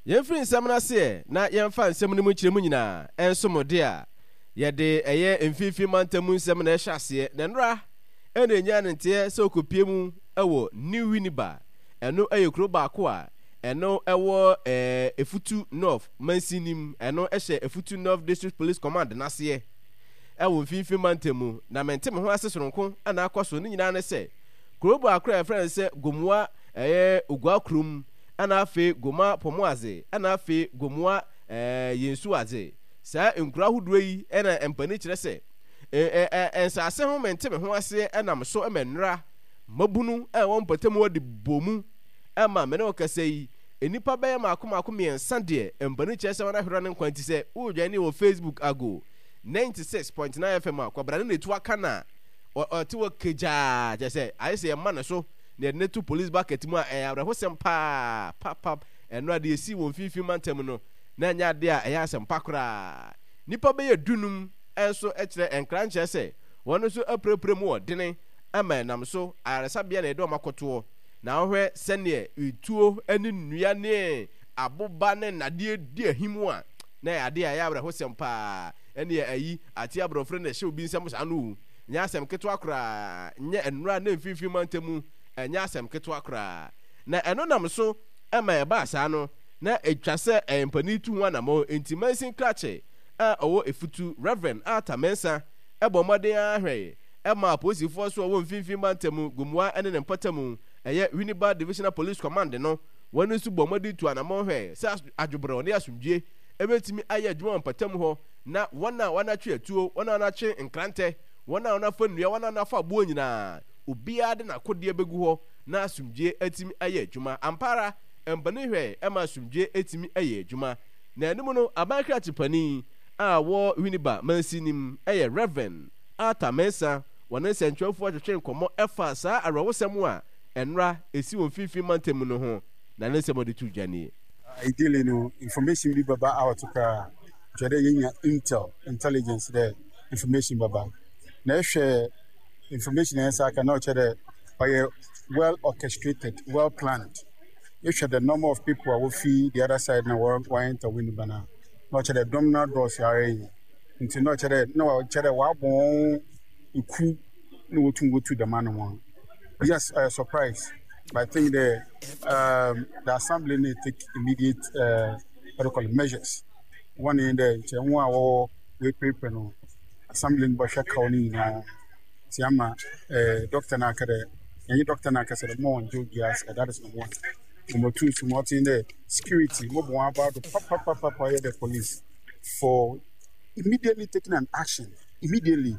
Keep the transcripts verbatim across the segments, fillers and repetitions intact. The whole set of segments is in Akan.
Yɛmfiri nsɛm no aseɛ na yɛmfa nsɛm no mu nkyerɛmu nyinaa nso mo de a, yɛde ɛyɛ mfimfini mantam mu nsɛm na ɛhyɛ aseɛ. Na nnora ɛna ɛnyaa ne nteɛ sɛ ɔkɔpie mu wɔ New Winneba. Ɛno ɛyɛ kuro baako a ɛno ɛwɔ ɛɛ Efutu North mansin nim. Ɛno ɛhyɛ Efutu North District Police Command n'aseɛ ɛwɔ mfimfini mantam mu. Na mente me ho ase soronko ɛna akɔ so ne nyinaa ne sɛ kuro baako a yɛfrɛ no sɛ Gomoa ɛyɛ Ogua kurom, ɛna afei Goma Pɔmoadze, ɛna afei Gomoa ɛɛ Yensuadze. Saa nkuro ahodoɔ yi ɛna mpanin kyerɛ sɛ ɛɛ ɛɛ nsaase ho mente me ho aseɛ ɛnam so ɛma nnora mmabunu a ɛwɔ mpɔtam hɔ de bɔ mu ɛma me ne wo kasa yi, nnipa bɛyɛ mako mako mmiɛnsa deɛ mpanin kyerɛ sɛ wɔn ahwere ne nkwa. Nti sɛ woredwane wɔ Facebook Ago ninety-six point nine F M a, kwabra ne n'etu aka na ɔte wɔ kegyaa kyerɛ sɛ ayɛ sɛ yɛma ne so na yɛde ne to police bucket mu a, ɛyɛ awerɛhosɛm paa papap. Ɛno adeɛ esi wɔ mfimfini mantam no na ɛnyɛ adeɛ a ɛyɛ asɛm pa koraa. Nnipa bɛyɛ dunum nso kyerɛ nkra nkyerɛ sɛ wɔn nso apirapira mu wɔ dene ama ɛnam so ayaresabea na yɛde wɔn akɔtoɔ. Na wohwɛ sɛneɛ etuo ne nnua ne aboba ne nnadeɛ di ahim a, na ɛyɛ adeɛ a ɛyɛ awerɛhosɛm paa. Ɛneɛ ayi ate aborɔfo na ɛhyɛ obi nsɛm saa no, nyɛ asɛm ketewa koraa. Nyɛ nnora ne mfimfini mantam mu, ɛnyɛ asɛm ketewa koraa. Na ɛno nam so ɛma ɛbaa saa no, na atwa sɛ ɛyɛ mpanin tu ho anammɔn. Enti mansin krakye a ɔwɔ Efutu, Reverend Arthur Mensah, ɛbɔ mmɔden ara hwɛe ɛma apolisifoɔ so a ɔwɔ mfimfini mantam Gomoa ne ne mpɔtam, ɛyɛ Winneba Divisional Police Command no, wɔn nso bɔ mmɔden tu anammɔn hwɛe sɛ adwobrɛw ne asomdwie ɛbɛtumi ayɛ adwuma wɔ mpɔtam hɔ, na wɔn a wɔatwe atuo, wɔn a wɔatwe nkrantɛ, wɔn a wɔafa nnua, wɔn a wɔafa aboɔ nyinaa, obiara de n'akodeɛ bɛgu hɔ na asomdwie atumi ayɛ adwuma. Ampa ara, mpanin hwɛe ɛma asomdwie atumi ayɛ adwuma. Na anim no, aban krakye panin a wɔ Winneba mansin nim ɛyɛ Reverend Arthur Mensah, wɔne nsɛntwerɛfoɔ twetwe nkɔmmɔ ɛfa saa awerɛhosɛm a ɛnora ɛsi wɔ mfimfini mantam no ho, na ne nsɛm a ɔde to dwa nie. Ideally no, information bi bɛba out koraa, kyerɛ dɛ yɛnya intel, intelligence dɛ information bɛba. Na ɛhwɛ information a yɛnsa aka na ɔkyerɛ dɛ ɔyɛ well orchestrated, well planned. Ehwɛ the number of people a wofi the other side na wɔ wɔ enter Winneba no a, na ɔkyerɛ dɛ dɔm no adɔɔso ara yie. Nti na ɔkyerɛ dɛ na ɔkyerɛ dɛ wɔabɔ wɔn ekuw na wotum wotu dɛm anamɔn. Yes, ɔyɛ surprise, but I think the um, the assembly need take immediate uh, what do you call it, measures. One in the nkyɛn ho a wɔwɔ wɔapirapira no, assembly no bɛhwɛ kaw no nyinaa. Nti ama eh, doctor no aka dɛ, yɛnye doctor no akasa dɛ mo ɔngye obiara sika, that is number one. Number two so ma ɔtse dɛ security mo bɔ wɔn aba do papapapa yɛ the police for immediately taking an action immediately.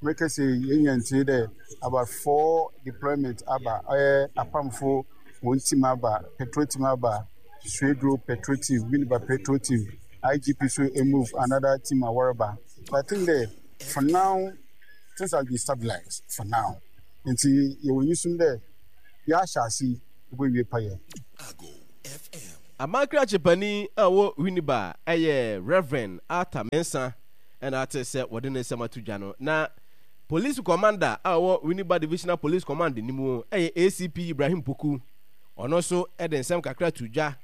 Meka sɛ yɛnya ntie dɛ about four deployment aba, ɔyɛ apamfo wɔn team aba, patrol team aba, Swedru patrol team, Winneba patrol team, I G P so move another team a wɔreba. But I think dɛ for now things have been stabilized for now. Nti yɛwɔ nyisum dɛ yɛahyɛ ase yi wobɛwie payɛ. Aman panin a ɔwɔ Winneba ɛyɛ Reverend Arthur Mensah ɛna ate sɛ wɔde ne nsɛm ato dwa no. Na police commander a ɔwɔ Winneba Divisional Police Command no mu ɛyɛ A C P Ibrahim Poku. Ɔno nso de nsɛm kakra to dwa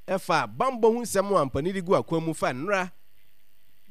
ɛfa bambɔ ho nsɛm a mpanin de gu akwan mu fa nnora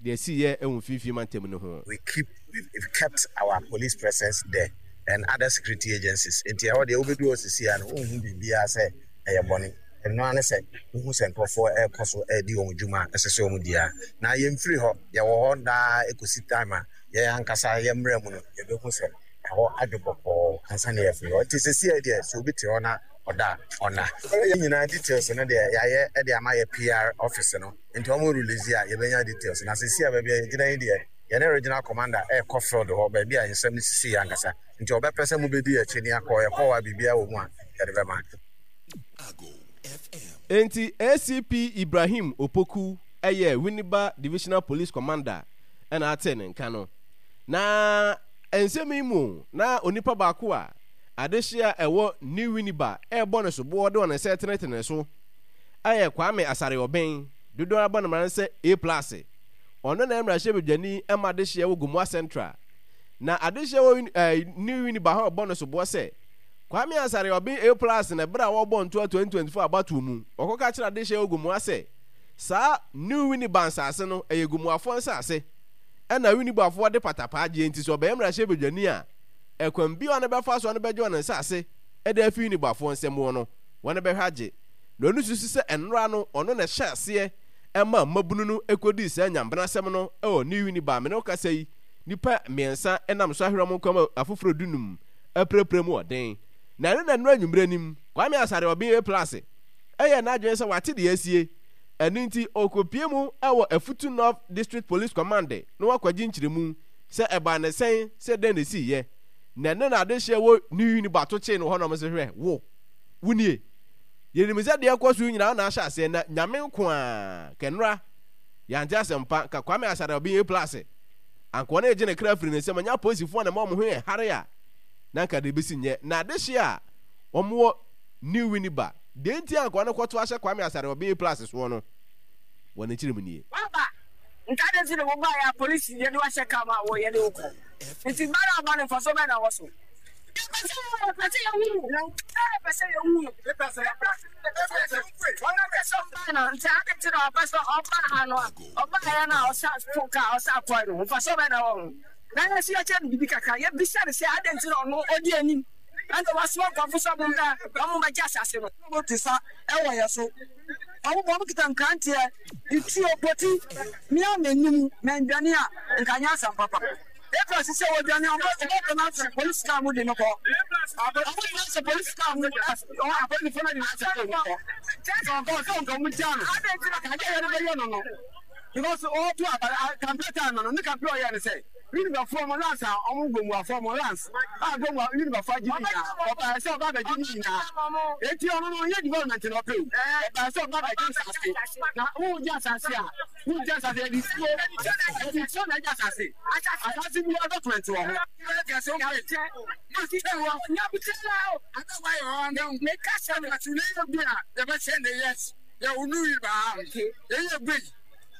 deɛ ɛsiiɛ ɛwɔ mfimfini mantam no ho. We keep we've kept our police presence there and other security agencies. Nti ɛhɔ deɛ, wobɛdu hɔ sisi a no, wonhu biribiara sɛ ɛyɛ bɔne. Ɛno ara ne sɛ wohu sɛ nkurɔfoɔ ɛrekɔ so ɛredi wɔn dwuma a ɛsɛ sɛ wɔn di a, na yɛmfiri hɔ. Yɛwɔ hɔ daa ɛkɔsi time a yɛn ankasa yɛn mmerɛ mu no yɛbɛhu sɛ ɛhɔ adwo bɔkɔɔ ansa na yɛafiri hɔ. Nti sisi a deɛ, sɛ obi te hɔ na ɔda a, ɔna yɛn nyinaa details no deɛ, yɛayɛ de ama yɛ P R office no, nti wɔn release a, yɛbɛnya details. Na sisi a baabi a yɛgyina yi deɛ, yɛne regional commander ɛrekɔ field hɔ, baabi a nsɛm no sisi yɛ ankasa, nti ɔbɛpɛ sɛ mobɛdi akyi ne akɔ. Yɛkɔ hɔ a, biribiara wɔ mu a yɛde bɛma. Enti A C P Ibrahim Opoku ɛyɛ Winneba Divisional Police Commander ɛna ate ne nka no. Na nsɛm yi mu na onipa baako a adehye a ɛwɔ New Winneba ɛrebɔ ne soboɔ de wɔn nsa tenetene so ɛyɛ Kwame Asare Ɔbɛn, dodoɔ abɔ ne mmara no sɛ A Plus. Ɔno na mmarahyɛbadwani ɛma adehyeɛ wɔ Gomoa Central. Na adehyeɛ wɔ ɛɛ New Winneba hɔ ɛbɔ ne soboɔ sɛ Kwame Asare Ɔbɛn A Plus na ɛberɛ a wɔrebɔ ntoa twenty twenty-four abatoɔ mu, ɔkɔka kyerɛ adehyeɛ wɔ Gomoa sɛ Saa New Winneba nsase no, ɛyɛ Gomoafoɔ nsase, ɛna Winnebafoɔ de patapaa gyeɛ nti sɛ ɔbɛyɛ mmarahyɛbadwani a, ɛkwan biara a ɔno bɛfa so a ɔno bɛgye wɔn nsase de afi Winnebafoɔ nsam wɔ no, wɔn bɛhwɛ agye. Na ɔno susu sɛ ɛnora no ɔno na ɛhyɛ aseɛ ɛma mmabunu no ɛkɔdii saa nyambenasɛm no wɔ New Winneba. Me ne wo kasa yi, nnipa mmiɛnsa nam so ahwere wɔn nkwa mu afoforɔ dunum apirapira mu ɔden. Na ɛno na ɛnora anwummerɛ nim, Kwame Asare Ɔben A Plus yɛɛ n'adwene sɛ wate deɛ asie, ɛno nti ɔrekɔpue mu wɔ Afutu North District Police Command na wakɔgye nkyerɛmu sɛ ɛbaa no sɛn, sɛ dɛn na ɛsiiɛ. Na ɛno na adehyeɛ wɔ New Winneba to kyee no hɔ nom sɛ hwɛ, wo, wo nie. Yɛnim sɛ deɛ ɛkɔ so yi nyinaa wo na ahyɛ aseɛ na Nyame nko ara, kɛnora, yɛante asɛmpa, nka Kwame Asare Ɔben A Plus, anka ɔno regye ne kra afiri ne nsam, ɛnyɛ apolisifoɔ na ɛma wɔn ho yɛ hare a, na anka deɛ ɛbɛsi nyɛ. Na adehyeɛ a wɔwɔ New Winneba, deɛ nti a anka ɔno kɔto ahyɛ Kwame Asare Ɔben A Plus soɔ no, wɔ ne nkyerɛmu nie. Waba, nka adɛn nti na wobaeɛ a polisi yɛde wo ahyɛ kaa mu a wɔ yɛde wo kɔ? Nti ba no aba no mfasoɔ bɛn na ɛwɔ so? Yɛpɛ sɛ yɛpɛ sɛ yɛhu no, yɛpɛ sɛ yɛhu no. Ɔno pɛ sɛ ɔba no, nti adɛn nti na ɔpɛ sɛ ɔba ha no a ɔbaeɛ no a ɔsa fo kaa ɔsa kɔe no, mfasoɔ bɛn na ɛwɔ ho? Na yɛn nso yɛkyerɛ no biribi kakra, yɛbisa no sɛ adɛn nti na ɔno ɔdi anim ɛna wasoma nkurɔfo sɛ wɔmmra na wɔmmɛgye asase no. Wɔte sa wɔ yɛn so. Wɔn wɔn kita nkranteɛ, tuo, poti. Me a mennim, mandwane a, nka anyɛ asɛm papa. April sisi a wɔdwane a, wɔbɛtena ahyɛ polisi kaa mu de no kɔ. Wɔbɛtena ahyɛ polisi kaa mu, apolisifoɔ no de no ahyɛ kaa mu kɔ. Sɛ ɔkɔ sɛ nka wɔn gyaa no, adeɛ a yɛde bɛyɛ no no, because ɔreto aba, campaign time no, ne campaign ɔyɛ no sɛ. Yunibafoɔ mo lands a ɔmo Gomuafoɔ mo lands a Gomua Yunibafoɔ agye ne nyinaa ɔbaeɛ sɛ ɔba abɛgye ne nyinaa enti ɔno no ɔnyɛ development na ɔpɛ o ɔbaeɛ sɛ ɔba abɛgye nsaase na wogye asaase a wogye asaase yɛde nsuo yɛde nsuo na agye asaase asaase biara document wɔ ho.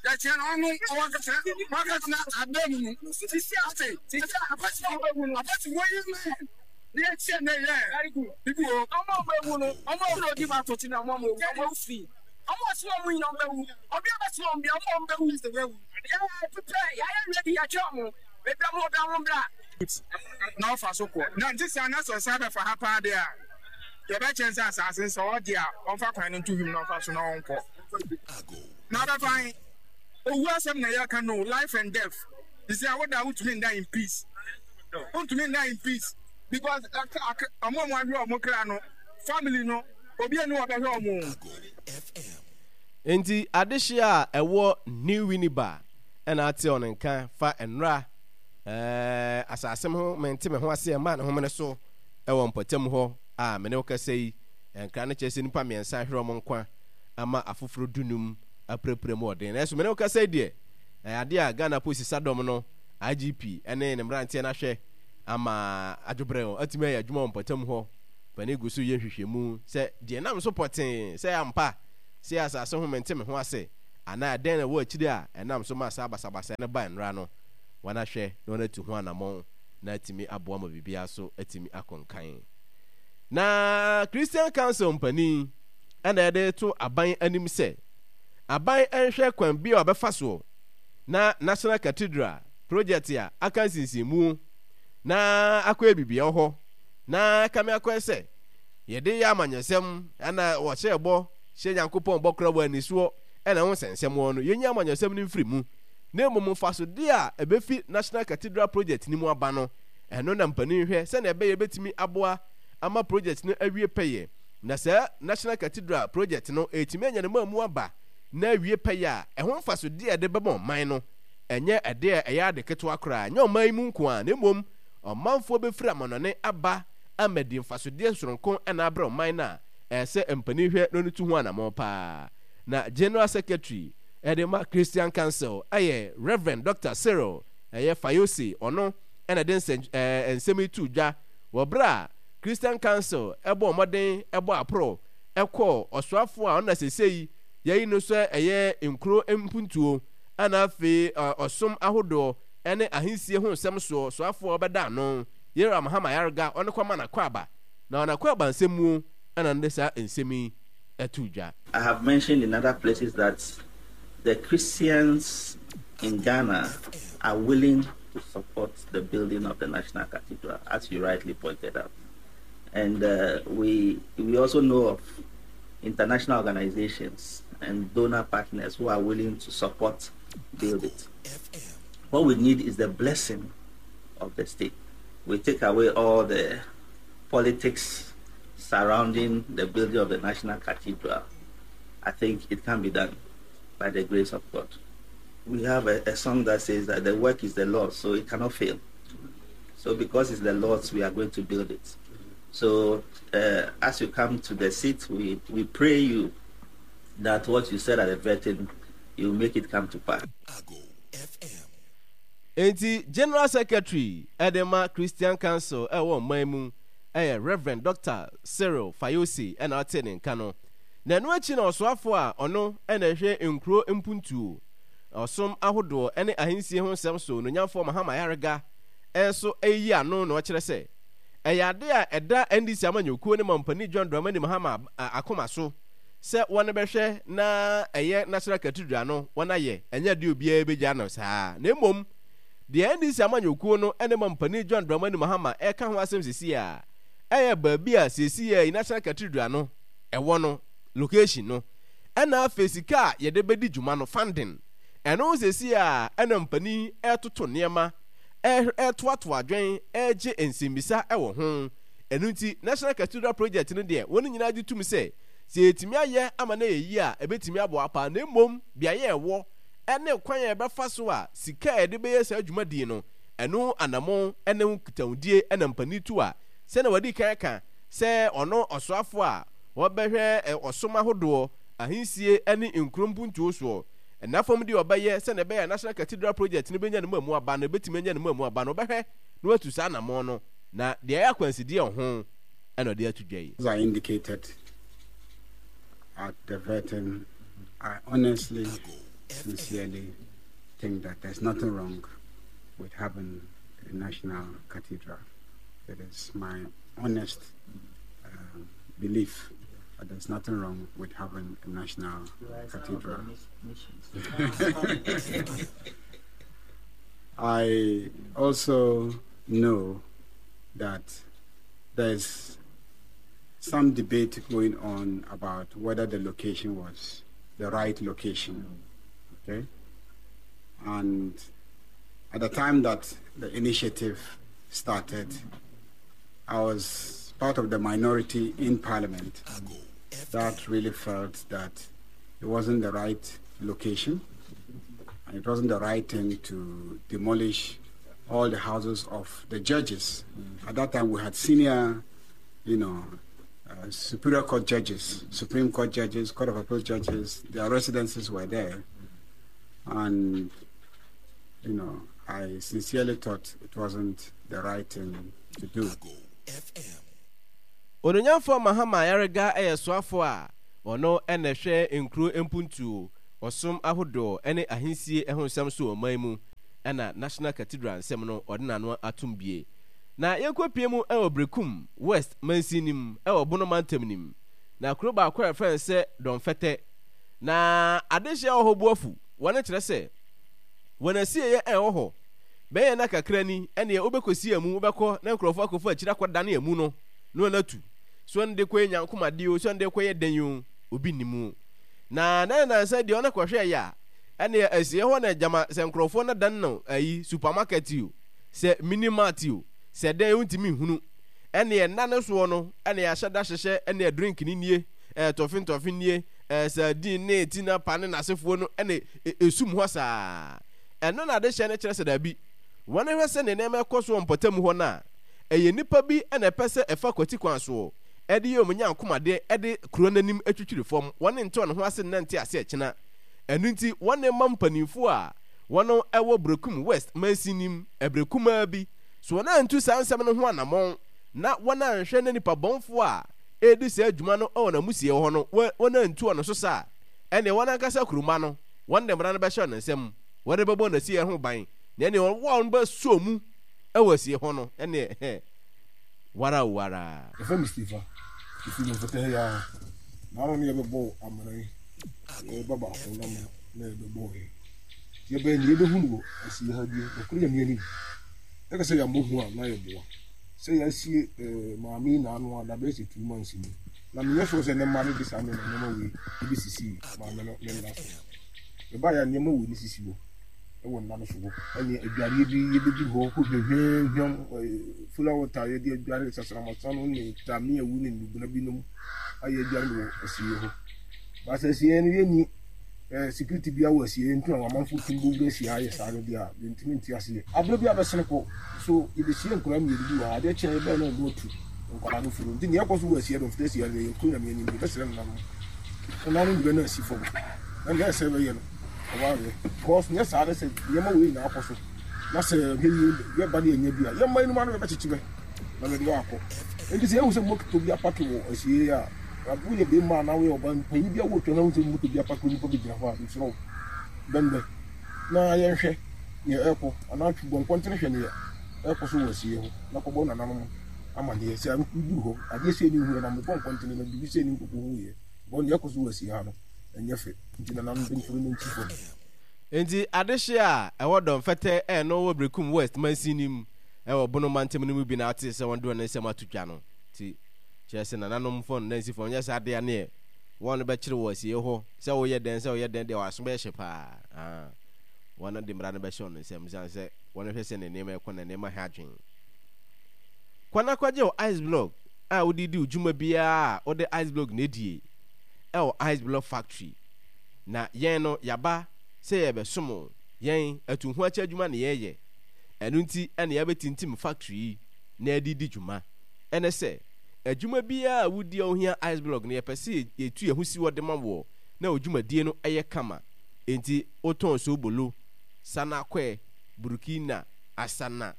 Yɛkyerɛ no ɔno ɔwankasa wankasa abɛ mu no sisi ase sisi apɛsɛ ɔbɛwu no apɛsɛ wɔyi mɛ ne yɛkyerɛ ne yɛ bibi wɔ ɔmo ɔmo ewu no ɔmo ɔmo odi ma ato kyina ɔmo ɔmo ewu ɔmo ewu firi ɔmo ɔsi ɔmo nyina ɔmo ewu ɔbi ɔbɛsi ɔmo bia ɔmo ɔmo bɛwu yɛ pepɛ yɛayɛ ready yɛatwa ɔmo ebi ɔmo ɔbi ɔmo bra. Na ɔfa so kɔ na nte saa na sɛ ɔsan bɛfa ha paa deɛ a yɛbɛkyɛn sɛ asaase no sɛ ɔgye a ɔmfa kwan no nto hwim na ɔmfa so na ɔnkɔ. Na ɔbɛfa he? Owu asɛm na yɛreka no o, life and death. Sisi a woda a wontumi nda in peace. Wontumi nda in peace because ɔmo a ɔmo ahwere ɔmo kra no, family no, obi nni hɔ a ɔbɛhwɛ ɔmo o. Enti adehye a ɛwɔ New Winneba na ate ɔno nka fa nnora eh, asase ho mente me ho ase ɛma ne homene so wɔ mpɔtam hɔ a me ne wo kasa yi. Nkra no kyerɛ sɛ nnipa mmiɛnsa ahwere wɔn nkwa ama afoforo dunum apirapira mu ɔden. Nanso me ne wo kasa yi deɛ, ɛyɛ adeɛ a Ghana Polisi Sadɔm no, I G P, ne ne mmeranteɛ no ahwɛ ama adwobrɛ atumi ayɛ adwuma wɔ mpɔtam hɔ. Panin gu so yɛ nhwehwɛmu sɛ deɛ ɛnam so pɔtee sɛ ampa sɛ asase ho mente me ho ase anaa ɛdɛn na ɛwɔ akyiri a ɛnam so ma saa basabasayɛ no ba nnora no, wɔahwɛ na wɔatu ho anammɔn na atumi aboa ma biribiara so atumi akɔ nkan. Na Christian Council mpanin na ɛde reto aban anim sɛ aban nhwɛ kwan bi a ɔbɛfa soɔ na National Cathedral project a aka nsinsinmu na akɔyɛ biribi wɔ hɔ na kame akɔyɛ sɛ yɛde yɛ amanyɔsɛm ɛna wɔhyɛ bɔ hyɛ Nyankopɔn bɔ kora wɔ anisoɔ ɛna ho nsɛnsɛm wɔ no, yɛnyi amanyɔsɛm no mfiri mu na mmom mfasodeɛ a ɛbɛfi National Cathedral project no mu aba no, ɛno na mpanin hwɛ sɛnea ɛbɛyɛ bɛtumi aboa ama project no awie pɛyɛ. Na saa National Cathedral project no ɛretumi anya ne mmamu aba na awie pɛyɛ a, ɛho mfasodeɛ a ɛde bɛma ɔman no, ɛnyɛ ɛdeɛ a ɛyɛ ade ketewa koraa, ɛnyɛ ɔman yi mu nko ara, na mmom ɔmanfoɔ bɛfiri amanɔne aba amadi mfasodeɛ soronko na abrɛ ɔman no a, ɛsɛ sɛ mpanin hwɛ na ɔno tu ho anammɔn pa ara. Na General Secretary de ma Christian Council yɛ Rev. Doctor Cyril ɛyɛ Fayose, ɔno na ɛde nsɛm yi too dwa wɔ berɛ a Christian Council bɔɔ mmɔden bɔɔ aporɔ kɔɔ ɔsoafoɔ a ɔno na seesei yɛayi no sɛ ɛyɛ nkuro mpuntuo ɛna afei ɔsom ahodoɔ ne ahensie ho nsɛm soɔ soafoɔ a ɔbɛda ano, Yera Mahama Ayariga, ɔno kɔma n'akwaaba na n'akwaaba nsɛm muo ɛna no de saa nsɛm yi too dwa. I have mentioned in other places that The Christians in Ghana are willing to support the building of the National Cathedral, as you rightly pointed out. And uh, we, we also know of international organizations and donor partners who are willing to support build it. What we need is the blessing of the state. We take away all the politics surrounding the building of the National Cathedral. I think it can be done by the grace of God. We have a, a song that says that the work is the Lord's, so it cannot fail. So because it's the Lord's, we are going to build it. So uh, as you come to the seat, we, we pray you that what you said at the vetting, you make it come to pass. Enti General Secretary de ma Christian Council ɛwɔ ɔman mu ɛyɛ Reverend Doctor Cyril Fayose ɛna ɔtee ne nka no. Na ɛno akyi na ɔsoafoɔ a ɔno na ɛhwɛ nkuro mpuntuo, ɔsom ahodoɔ ne ahensie ho nsɛm so Ononyamfoɔ Mahama Ayariga nso reyi ano na ɔkyerɛ sɛ ɛyɛ ade a ɛda N D C amanyɔkuo ne Mampanin John Dramani Mahama akoma so sɛ wɔn bɛhwɛ na ɛyɛ National Cathedral no wɔn ayɛ. Ɛnyɛ adeɛ obiara bɛgya no saa, na mmom deɛ N D C amanyɔkuo no ne Mampanin John Dramani Mahama ɛka ho asɛm seesei a ɛyɛ baabi a seesei yi National Cathedral no ɛwɔ no, location no, ɛna afei sika a yɛde bɛdi dwuma no, funding. Ɛno seesei a ɛna mpanin ɛtoto nneɛma, ɛtoatoa adwen, ɛregye nsɛmmisa ɛwɔ ho. Ɛno nti National Cathedral project no deɛ, wɔn nyinaa gye tom sɛ sɛ yɛtumi ayɛ ama no yɛ yie a, ɛbɛtumi aboa paa, na mmom beaeɛ ɛwɔ ɛne kwan a yɛbɛfa so a sika a yɛde bɛyɛ saa dwumadie no, ɛno anammɔn ɛne ho nkitahodie ɛna mpanin tu a sɛnea wɔde kan ka sɛ ɔno ɔsoafoɔ a wɔbɛhwɛ ɔsom ahodoɔ, ahensie ne nkuro mpuntuo soɔ. Ɛna fam deɛ ɔbɛyɛ sɛnea ɛbɛyɛ National Cathedral project no bɛnya ne mu amu aba no, ɛbɛtumi anya ne mu amu aba no, ɔbɛhwɛ na watu saa anammɔn no, na deɛ ɛyɛ akwansideɛ wɔ ho ɛna ɔde ato dwa yi. As I indicated at the vetting, I honestly, sincerely think that there's nothing wrong with having a national cathedral. It is my honest uh, belief that there's nothing wrong with having a national cathedral. I also know that there's some debate going on about whether the location was the right location. Okay? And at the time that the initiative started, I was part of the minority in Parliament that really felt that it wasn't the right location and it wasn't the right thing to demolish all the houses of the judges. At that time, we had senior, you know, uh, Superior Court judges, Supreme Court judges, Court of Appeal judges. Their residences were there. And, you know, I sincerely thought it wasn't the right thing to do. Ononyamfoɔ Mahama Ayariga yɛ soafoɔ a ɔno ɛna ɛhwɛ nkuro mpuntuo, ɔsom ahodoɔ ne ahensie ho nsɛm so wɔ ɔman mu, ɛna National Cathedral nsɛm no ɔde n'ano atom bie. Na yɛnkɔpie mu ɛwɔ Berekum West mansin nim ɛwɔ Bono mantam nim, na kuro baako a yɛfrɛ no sɛ Dɔnfɛtɛ, na adehyeɛ wɔ hɔ bu afu wɔne kyerɛ sɛ wɔn asieeɛ ɛwɔ hɔ bɛyɛ na kakra ni. Ɛneɛ wobɛkɔsi amu, wobɛkɔ na nkurɔfoɔ akɔfa akyiri akɔdane amu no na wɔn atu so, ɛno de kɔyɛ nyankomadeɛ o, so ɛno de kɔyɛ dɛn o, obi nnim o. Na na nansa deɛ ɔno kɔhwɛ yɛ a, ɛneɛ asie hɔ na gyama sɛ nkurɔfoɔ no dan no ayi supermarket o, sɛ mini mart o, sɛ dɛn, wontumi nhunu. Ɛneɛ nna no soɔ no, ɛneɛ ahyɛ da hyehyɛ, ɛneɛ drink ni nie, ɛɛ tɔfe ntɔfe nie, ɛɛ sardine ne tina pa ne n'asefoɔ no, ɛne esum hɔ saa. Ɛno na adehyɛ no kyerɛ sɛ daabi, wɔn hwɛ sɛ ne nneɛma ɛkɔ so wɔ mpɔtam hɔ no a, ɛyɛ nipa bi na ɛpɛ sɛ ɛfa kwati kwan soɔ ɛde yɛ wɔn nyankomadeɛ, ɛde kuro n'anim atwitwiri fam. Wɔn nte wɔn ho ase nnante ase ɛkyena. Ɛno nti wɔn mma mpanimfoɔ a wɔn ɛwɔ Berekum West mansin nim ɛberɛ kumaa bi so wɔn antu saa nsɛm no ho anammɔn na wɔn anhwɛ na nipa bɔnfoɔ a ɛredi saa adwuma no wɔ n'amusie hɔ no, wɔn antu wɔn so saa, ɛnneɛ wɔn ankasa kuruma no, wɔn de mmara no bɛhyɛ wɔn nsam, wɔde bɛbɔ n'asieɛ ho ban, na ɛnneɛ wɔn bɛsɔ mu wɔ asie hɔ no, ɛnneɛ wara o wara. Yɛfrɛ me Stephen. Mefiri Mfɛtɛ ha yi ara. Na ano ne yɛbɛbɔ amena yi. Yɛba baako na me Na yɛbɛbɔɔyɛ yɛbɛn ne yɛbɛhunu wɔ asie ha bio nɔkoro Nyame anim. Ɛka sɛ yɛammɔ hu a na yɛboa sɛ yɛasie eh, maame yi naano a da bɛyɛ sɛ two months ni, na menyɛ sure sɛ ne mma no de saa nneɛma nneɛma wei ɛbɛsisi maame no ne nna so. Ɛbaeɛ a nneɛma wei ne sisi hɔ ɛwɔ nna no so hɔ, ɛne adwareɛ bi yɛbɛduru hɔ hɔ hwehwɛhwɛm, fula water yɛde adware sasramasa no ne tame awu ne nnubena binom ayɛ adware no wɔ asieɛ hɔ. Baasa asieɛ no yɛnni eh, security bia wɔ asieɛ nti na amanfo tumi bɔwura asie ayɛ saa no deɛ a yɛntumi nte aseɛ. Aberɛ bi abɛsene kɔ so yɛbɛsie nkwadaa mmienu bi wɔ ha, adeɛ kyeɛ yɛbɛɛ na ɔmo atu nkwadaa no firi nti neɛ ɛkɔ so wɔ asieɛ no mfita asieɛ no yɛkuro Nyame anim, yɛbɛsrɛ nananom nananom de bɛ no asi fam na neɛ ɛsɛ bɛyɛ no ɔmo ayɛ, because nyɛ saa ne sɛ nneɛma wei nyinaa kɔ so na sɛ hwɛ yie yɛba ne yɛnya bi a yɛmma yɛnum ano yɛbɛkyekye bɛ na bɛde wakɔ. Nti sɛ yɛhu sɛ moto bi apake wɔ asie a, woyɛ bɛrima anaa woyɛ ɔbaa mpanyin bi a wotwa na wohu sɛ moto bi apake onipa bi gyina hɔ a, mesrɛ wo bɛmbɛ na yɛnhwɛ nea ɛrekɔ, anaa twi bɔ nkɔntene hwɛ nea ɛrekɔ so wɔ asie hɔ na kɔbɔ nananom amanneɛ sɛ woduru hɔ adeɛ sei ne hu yɛ na mebɔ nkɔntene na biribi sei ne nkɔkɔ hu yɛ bɔ nea ɛkɔ so wɔ asie ha no ɛnyɛ fɛ, nti nananom mpanyinfoɔ no nti fam. Enti adehye a ɛwɔ Dɔmfɛtɛ a ɛno wɔ Berekum West mansin no mu wɔ Bono mantam no mu bi na ɔtee sɛ wɔde wɔn nsɛm ato dwa no nti, kyerɛ sɛ nananom fam no nansifoɔ nyɛ saa deɛ neɛ wɔn bɛkyere wɔ asieɛ hɔ sɛ woyɛ dɛn sɛ woyɛ dɛn deɛ wɔn aso bɛyɛ hye paa aa wɔn de mmara no bɛhyɛ wɔn nsam ɛsiane sɛ wɔn hwɛ sɛ ne nneɛma ɛkɔ na nneɛma ha adwene. Kɔ na kɔgye wo ice block a wode di wo dwuma biara a wode ice block na edie ɛwɔ Ice Block Factory. Na yɛn no yɛaba sɛ yɛrebɛsom wo. Yɛn, atuhoakyɛ adwuma na yɛreyɛ. Ɛno nti na yɛabɛtintim factory yi na yɛde redi dwuma. Ɛne sɛ, adwuma biara a wodi a wohia ice block no, yɛpɛ sɛ yɛtu yɛn ho si hɔ de ma woɔ na wo dwumadie no yɛ kama. Enti wotɔn soobolo, sanakɔɛ, burkina, asana,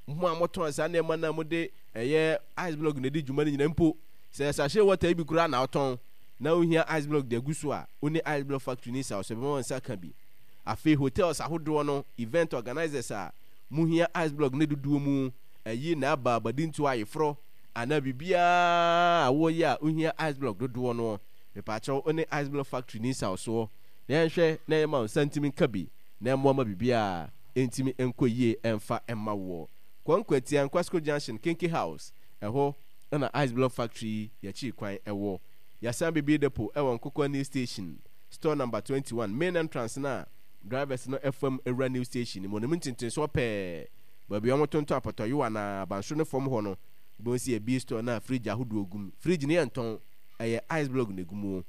mo a motɔn saa nneɛma no a mode ɛyɛ ice block na ɛdi dwuma no nyinaa mpo, sɛ sachet water yi bi koraa na wotɔn na wohia ice block de agu so a, wo ne ice block factory no nsaw so, ɛbɛma wo nsa aka bi. Afei hotels ahodoɔ no, event organisers a mohia ice block no dodoɔ mu, ayi na aba abadintoɔ, ayeforɔ, anaa biribiara a woyɛ a wohia ice block dodoɔ no, mepaakyɛw wo ne ice block factory no nsaw soɔ na yɛnhwɛ na yɛma wo nsa ntumi nka bi na ɛmmoa ma biribiara ntumi nkɔ yie mfa mma woɔ. Kɔ Nkwatia, Nkwasco Junction, Kenke House, ɛhɔ na Ice Block Factory yi yɛkyiri kwan wɔ. Yɛasan bebue depot wɔ Nkokoa New Station, store number twenty one, main entrance no a drivers no fam wura New Station no mu no mu ntentensoɔ pɛɛ, baabi a wɔtontɔn apɔtɔyowa anaa abansoro no fam hɔ no, wobɛhu sɛ yɛabue store no a fridge ahodoɔ gu mu. Fridge no yɛntɔn, ɛyɛ ice block na ɛgu mu.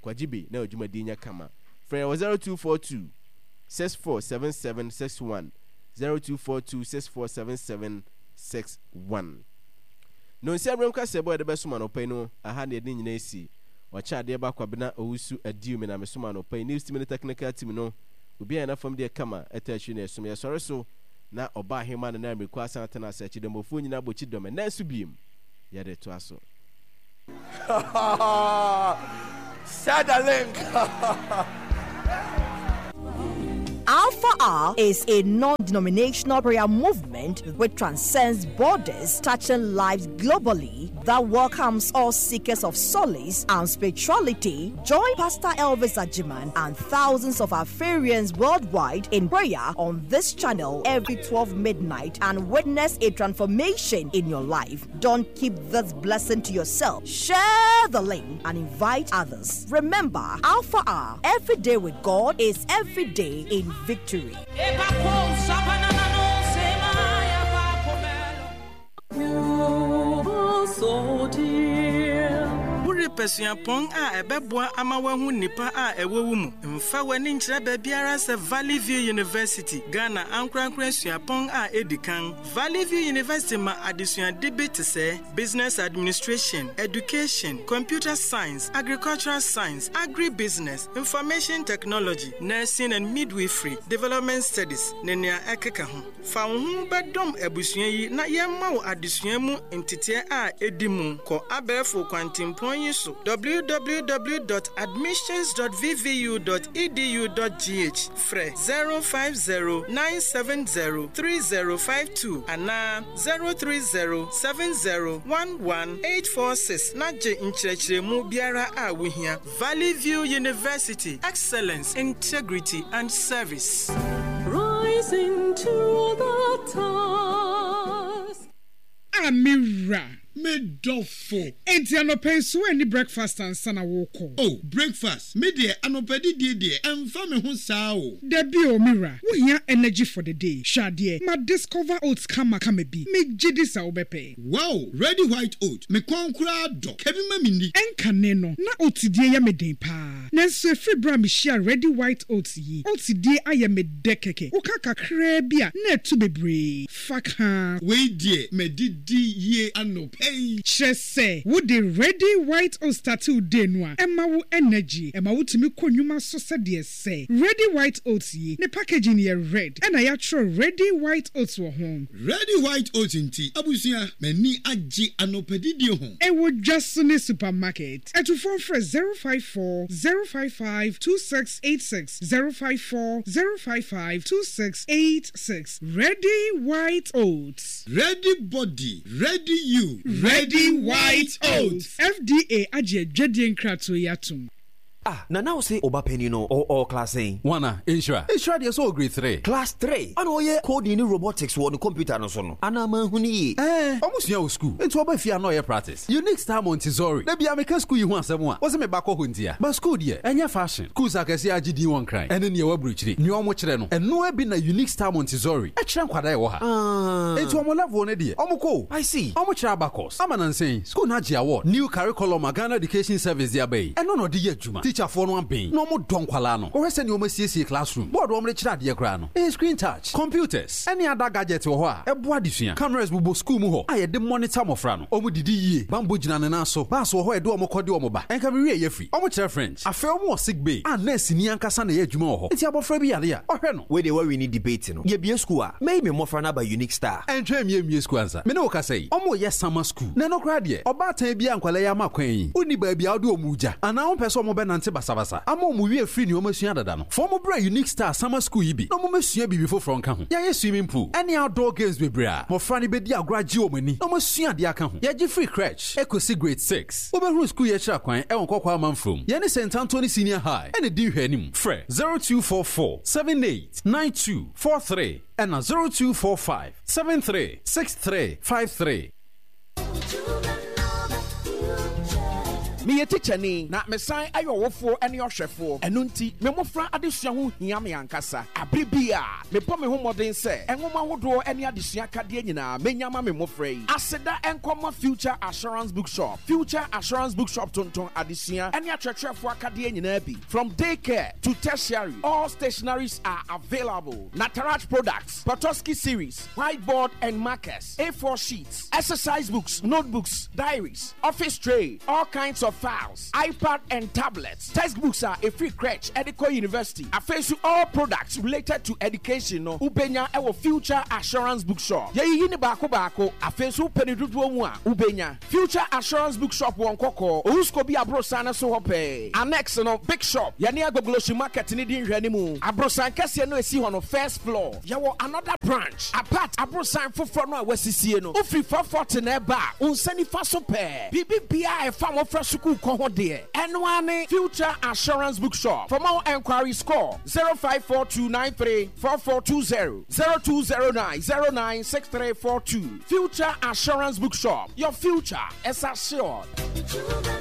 Kwagye bi na w'adwumadie nyɛ kama. Frɛ yɛn wɔ zero two four two six four seven seven six one, zero two four two six four seven seven six one. Nonsia berɛm kaseɛbɔ a yɛde bɛsom anɔpa yi no, aha na yɛde ne nyinaa asi. Ɔkyɛ adeɛ ba Kwabena Owusu Adiu me na mesom anɔpa yi. News team ne technical team no, obiara yɛ n'afam deɛ kama, ɛtɔ akyiri na ɛsom. Yɛsɔre so na ɔba ahema no na mmiriko asan atena ase. Akyidɔmmɔfoɔ nyinaa bɔ kyidɔm. Ɛnnɛ nso biem, yɛde toa so. Share the link. Alpha R is a non denominational prayer movement which transcends borders, touching lives globally, that welcomes all seekers of solace and spirituality. Join Pastor Elvis Ajiman and thousands of Alpharians worldwide in prayer on this channel every twelve midnight and witness a transformation in your life. Don't keep this blessing to yourself. Share the link and invite others. Remember, Alpha R, every day with God is every day in victory. Worepɛ suapɔn a ɛbɛboa ama woahu nnipa a ɛwɔ wo mu? Mfa w'ani nkyerɛ baabiara sɛ Valley View University, Ghana ankorankore suapɔn a edi kan. Valley View University ma adesuade bi te sɛ Business Administration, Education, Computer Science, Agricultural Science, Agribusiness, Information Technology, Nursing and Midwifery, Development Studies, ne nea ɛkeka ho. Fa wo ho bɛdɔm abusua yi na yɛmma wo adesua mu nteteɛ a edi mu. Kɔ abɛɛfo kwantempɔn yi so w w w dot admissions dot v v u dot edu dot g h, frɛ zero five zero nine seven zero three zero five two anaa zero three zero seven zero one one eight four six na gye nkyerɛkyerɛmu biara a wohia. Valley View University, excellence, integrity and service. Rising to the task. A mewura. Me dɔfo. Enti anɔpɛ nso ani breakfast ansa na wokɔ? Oh, breakfast, me deɛ, anɔpɛ didie deɛ, ɛmfa me ho saa o. Dabi o, mewura, wohia energy for the day. Hwɛ adeɛ, ma discover oats kama kama bi, megye di sɛ wobɛpɛ. Wow, Ready White Oat, me kɔn koraa dɔ, ka bi ma me ni. Ɛnkane no na oats die yɛ me den paa, nanso ɛfiri berɛ a mehyia Ready White Oats yi, oats die ayɛ me dɛ kɛkɛ. Woka kakraa bi a na ɛto bebree fa kaa. Wei deɛ, madidi yie anɔpɛ yi. Kyerɛ sɛ wode Ready White Oats start wo day no a, ɛma wo energy, ɛma wotumi kɔ nnwuma so sɛdeɛ sɛ. Ready White Oats yi ne packaging yɛ red, ɛna yɛatwerɛ Ready White Oats wɔ ho. Ready White Oats nti, abusua, m'ani agye anɔpɛ didie ho. Ɛwɔ dwa so ne supermarket. Ɛtufoɔ frɛ zero five four zero five five two six eight six, zero five four zero five five two six eight six. Ready White Oats. Ready body, ready you. Ready White Oats. F D A agye adwadie nkratoɔ yi atom. Ah, na na wo se ɔba panyin no ɔ ɔ class sɛn? Wana Nhyira? Nhyira deɛ, sɛ ɔ grade three. Class three, ɔna ɔyɛ coding ne robotics wɔ ne computer no so no, anaa manhu ne yie? Ɛɛ, ɔmo sua wɔ school, nti ɔba fie a na ɔyɛ practice. Unique Star Montessori da bia meka school yi ho asɛm a, wɔsɛ meba kɔ hɔ ntia, but school deɛ, ɛnyɛ fashion. Schools akɛseɛ agye din wɔ Nkran ɛne neɛ waburokyire nea ɔmo kyerɛ no, ɛnoa bi na Unique Star Montessori ɛkyerɛ nkwadaa ɛwɔ ha. Enti ɔmo level no deɛ, ɔmo kɔ o. I see. Ɔmo kyerɛ abacus ama nansɛn school no agye award. New curriculum a Ghana Education Service de aba yi, ɛno na ɔde yɛ adwuma. Teacherfoɔ no abɛn na ɔmo dɔ nkwalaa no. Wɔhwɛ sɛ nea ɔmo asiesie classroom, board wɔn de kyerɛ adeɛ koraa no ɛyɛ screen touch. Computers ɛne other gadget wɔ hɔ a ɛboa adesua. Cameras bobɔ school mu hɔ a yɛde monitor mmɔfra no. Ɔmo didi yie, bambɔ gyina ne nan so, bus wɔ hɔ a yɛde ɔmo kɔ de ɔmo ba. Ɛnka mi wie yɛ firi. Ɔmo kyerɛ French. Afei ɔmo wɔ sick bay a nurse ni ankasa na ɛyɛ adwuma wɔ hɔ, nti abɔfra bi yare a, ɔhwɛ no. Wei deɛ, wawi ne debate no. Yɛbie school a, mɛyi me mmɔfra no aba Unique Star. Ɛntwɛn mie mie school ansa. Me ne wo kasa yi, ɔmo yɛ summer school, na ɛno koraa deɛ, ɔbaatan bi a nkwalaa yi ama kwan yi, wonni baabi a wode ɔmo gya anaa wompɛ sɛ ɔmo bɛnante basabasa ama ɔmo wie firi nea ɔmo asua dada no, fa ɔmo brɛ Unique Star summer school yi bi na ɔmo mɛsua biribi foforɔ nka ho. Yɛayɛ swimming pool ɛne outdoor games bebree a mmɔfra no bɛdi agorɔ agye wɔn ani na ɔmo asua adeɛ aka ho. Yɛgye free crèche ɛkɔsi grade six. Wobɛhunu school yɛkyerɛ kwan ɛwɔ Nkɔkɔ Amanfrom, yɛne Saint Anthony Senior High ɛne di nhwɛ anim. Frɛ zero two four four seven eight nine two four three ɛna zero two four five seven three six three five three. Meyɛ tikyani na mesan ayɛ ɔwofoɔ ne ɔhwɛfoɔ. Ɛno nti me mmɔfra adesua ho hia me ankasa. Abere bi a mebɔ me ho mmɔden sɛ nwoma ahodoɔ ne adesua kadeɛ nyinaa menya ma me mmɔfra yi. Aseda nkɔma Future Assurance Bookshop. Future Assurance Bookshop tontɔn adesua ne akyerɛkyerɛfoɔ akadeɛ nyinaa bi. From daycare to tertiary, all stationaries are available. Nataraj products, Petoskey series, whiteboard and markers, A four sheets, exercise books, notebooks, diaries, office tray, all kinds of files, iPad and tablets, textbooks are a free crèche, Edico University. Afei all products related to education no, wobenya ɛwɔ Future Assurance Bookshop. Yɛyiyi ne baako baako, afei nso wopɛ ne dodoɔ mu a, wobenya. Future Assurance Bookshop wɔ Nkɔkɔɔ, Owusko bi aborosan no so hɔ pɛɛ. Annex no, big shop, yɛne Agbogbloshie Market ne di nhwɛ ne mu. Aborosan kɛseɛ no esi hɔ no, first floor. Yɛwɔ another branch, apart aborosan foforɔ no a wɔasisie no. Wofiri four forty na ɛba a, wo nsa nifa so pɛɛ. Biribi biara a ɛfa mmɔfra sukuu kɔ ho deɛ, ɛno ara ne Future Assurance Bookshop. For more enquiries, call zero five four two nine three four four two zero, zero two zero nine zero nine six three four two. Future Assurance Bookshop. Your future is assured.